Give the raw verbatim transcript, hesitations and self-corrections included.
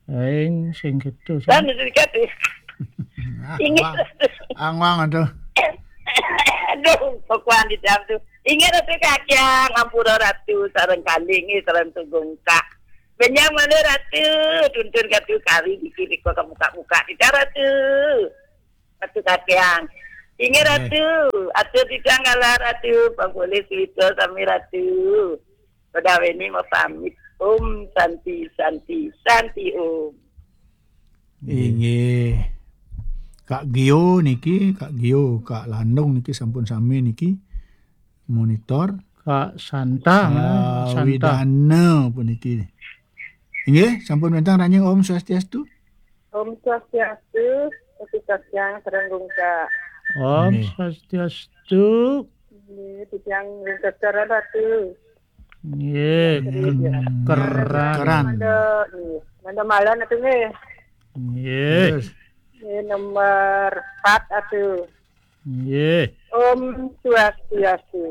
Aing sing gitu. Kan itu kan. Ah, inggih, wah. Ratu. Angwang, aduh. Aduh, pokoknya di dalam tuh. Inggih, Ratu Kakyang, ampura Ratu, sareng kalih inggih, sareng tugungkak. Benjang malih Ratu, tuntun Ratu kari di kiri kok kamu kak buka kita Ratu. Ratu Kakyang. Inggih, eh. Ratu, atur titiang galah Ratu, pang polih cerita sami Ratu. Pada ini mau pamit. Om Santi, Santi, Santi Om. Inggih. Kak Gio niki, Kak Gio, Kak Landung niki sampun sami niki monitor. Kak Santa, ah, Santa. Widana puniki. Inggih, sampun wénten ranjing Om Swastiastu. Om Swastiastu, Ratu Kakyang sareng gungkak. Om, nggih. Swastiastu. Nggih, titiang ring Ratu. Nggih, nggih, ken-, keran. Keran. Manda, nggih, manda malih atuh nggih. Nggih. Terus. Nggih, nomor empat atuh. Nggih. Om Swastiastu.